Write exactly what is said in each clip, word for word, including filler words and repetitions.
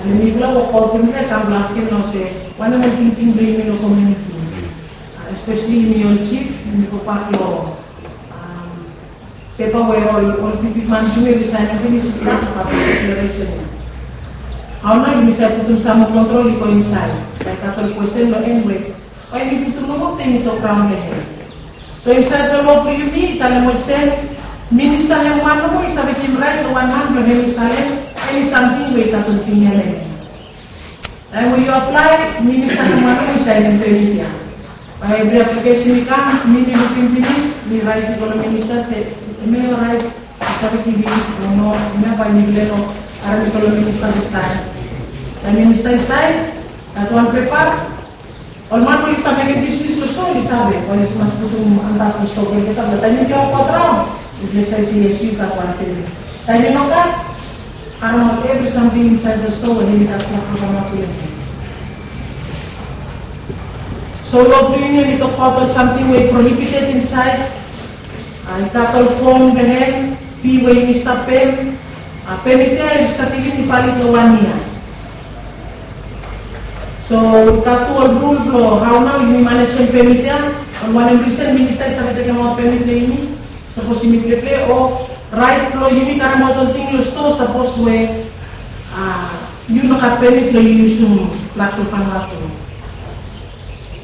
Mifala wokbaot blong mifala i kam blong askem nao se wanem ol tingting blong yumi long komuniti. Espeseli yumi ol jif, yumi gobak long pepa we ol bigman blong yumi oli saenem finis i stap long deklaresen ya. Hao nao yumi save putum sam moa kontrol i go insaed? Bae i gat ol kwesten long en we bae yumi putum nomo afta yumi tok raon long hem. So insaed long loa blong yumi i talem olsem, minista hem wan nomo i save givim raet long wan man blong hem i saenem eni samting we i gat ol tingting ya long hem. Taem we yu aplae, minista hem wan nomo i saenem pemit ya. Bae evri aplikesen i kam, mi mi lukim finis, mi raet i go long minista se hemia i oraet, yu save givim o no. Hemia bae mifala i no harem i go long minista distaem. Taem minista i saen, gat wan pepa, ol man we oli stap mekem bisnis long stoa oli save bae oli mas putum antap long stoa blong olgeta blong taem yumi wokbaot raon, yufala i save se yes, yu gat wan pemit. Taem i nogat, karemaot evri samting insaed long stoa we hemi gat flak blong kamap long hem. So loa blong yumi hemi tokbaot ol samting we i prohibited insaed. I gat ol fom blong hem, fi we yumi stap pem. Pemit ya i stap givim i valid long wan yia. So i gat tu ol rul blong hao nao yumi manejem pemit ya. Ol wanem risen minista i save tekemaot pemit long yumi, sapos yumi pleple o raet blong yumi karemaot ol ting long stoa sapos we yu no gat pemit blong yu yusum flak blong Vanuatu.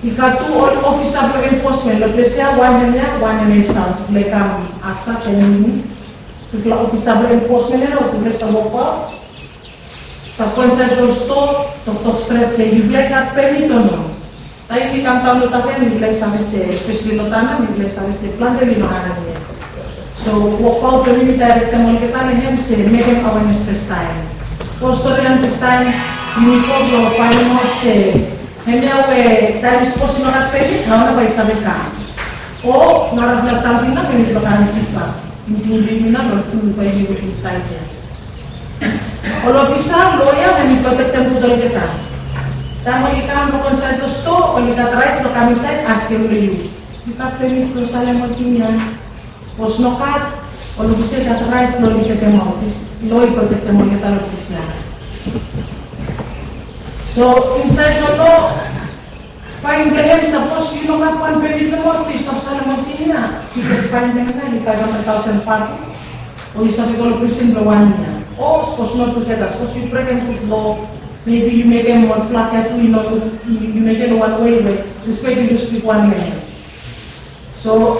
I gat tu ol ofisa blong enfosmen long ples ya, wan hemia, wan hemia i stap, tufala i kam afta joenem yumi. Tufala ofisa blong enfosmen ya nao tufala i stap wokbaot, stap go insaed long stoa, toktok stret se yufala i gat pemit o no. Taem yumi kam daon long Tafea mifala i save se, espeseli long Tanna mifala i save se plante oli no harem yet. So wokbaot blong yumi mi daerektem olgeta long hem se mekem awenes fastaem. Go storian fastaem, yumi go blong faenemaot se hemia we taem sapos i no gat pemit, hao nao bae i save kam? O narafala samting nao we yumi no karem jipbak, inkluding yumi nao long ful we yumi wok insaed ya. Ol ofisa, loea, hemi protektem gud olgeta. Taem oli kam long insaed long stoa, oli gat raet blong kam insaed askem long yu, yu gat pemit blong salem ol ting ya? Sapos nogat, ol ofisa i gat raet blong oli tekemaot. Loa i protektem olgeta long ples ya. So insaed long loa, faen blong hem, sapos yu no gat wan pemit long hem, yu stap salem ol ting ya, bikos faen blong hem nao hemi faef handred taosen per yia, o yu save go long prisen blong wan yia. O sapos no tugeta, sapos yu brekem gud loa, maybe yu mekem ol flak ya tu i no gud, yu mekem long wan wei we respek i lus bigwan long hem. So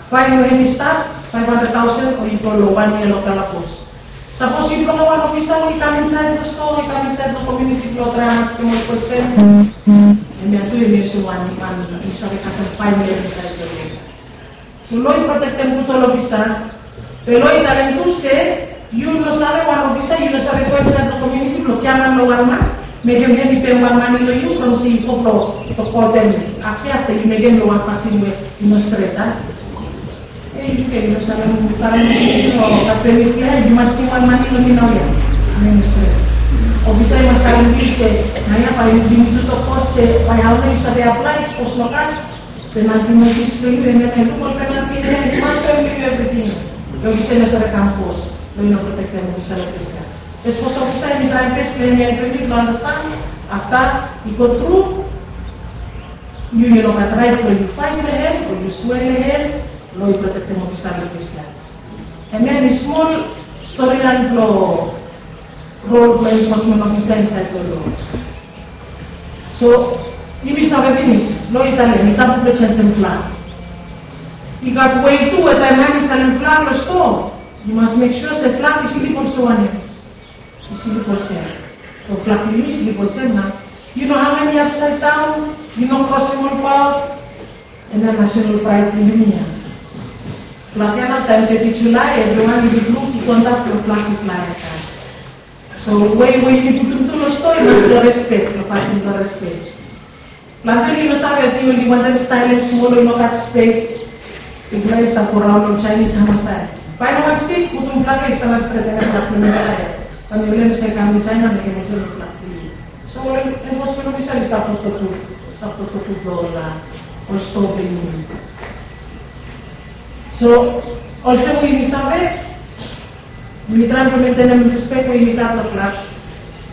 faen we hemi stap faef handred taosen o yu go long wan yia long kalabus. Sapos yufala wan ofisa we i kam insaed long stoa, i kam insaed long komuniti blong traem askem ol kwesten, hemia tu hemi olsem wan man yu save kasem faen long hem insaed long loa. So loa i protektem gud ol ofisa. Be loa i talem tu se yu no save, wan ofisa yu no save go insaed long komuniti blong giaman long wan man, mekem hem i pem wan mane long yu from se yu go blong tokotem. Afta yu mekem long wan fasin we i no stret, a? Ei, yu ken, yu no save, yu no gat pemit blong hem, yu mas givim wan mane long mi naoia. Hemia i no stret. Ofisa i mas talem se naoia bae yu givim tu toktok se bae hao nao yu save aplae, sapos nogat, penalti notis blong yu, hemia nao yu luk ol penalti, hemia yu mas soem long yu evriting. Long ofisa i no save kam fos, long i no protektem ofisa long ples ya. Be sapos ofisa hemi traem bes blong hemi helpem yu blong andastan, afta i go tru, yu yu no gat raet blong yu faet long hem o yu swea long hem. Loa i protektem ofisa long ples ya. Hemia hemi smol storian blong rol blong enfosmen ofisa insaed long loa. So yumi save finis, loa i talem i tabu blong jenisim flak. I gat wei tu we taem man i salem flak long stoa, yu mas mek sua se flak i slip olsem wanem? I slip olsem. So flak blong yu i slip olsem nao. Yu no hangem i apsaed daon, yu no krosem ol paol. Hemia nasonal praed blong yumi ya. Flak ya nao taem teti Julae evriwan i luk i go antap long flak i flae ya. So wei we yumi putum tu long stoa i mas long respek, long fasin blong respek. Plante oli no save, ating oli wantem staelem smol, oli no gat spes. Yufala i save go raon long Jaenis hamastaem. Faenem wan stik, putum flak ya, i stanap stret, hemia flak blong mifala ya. Taem yufala i no save kam long Jaena mekem olsem long flak blong yu. So ol enfosmen ofisa oli stap toktok gud, stap toktok gud long ol stoa blong yumi. So olsem we yumi save, yumi traem blong mentenem respek we yumi gat long flak.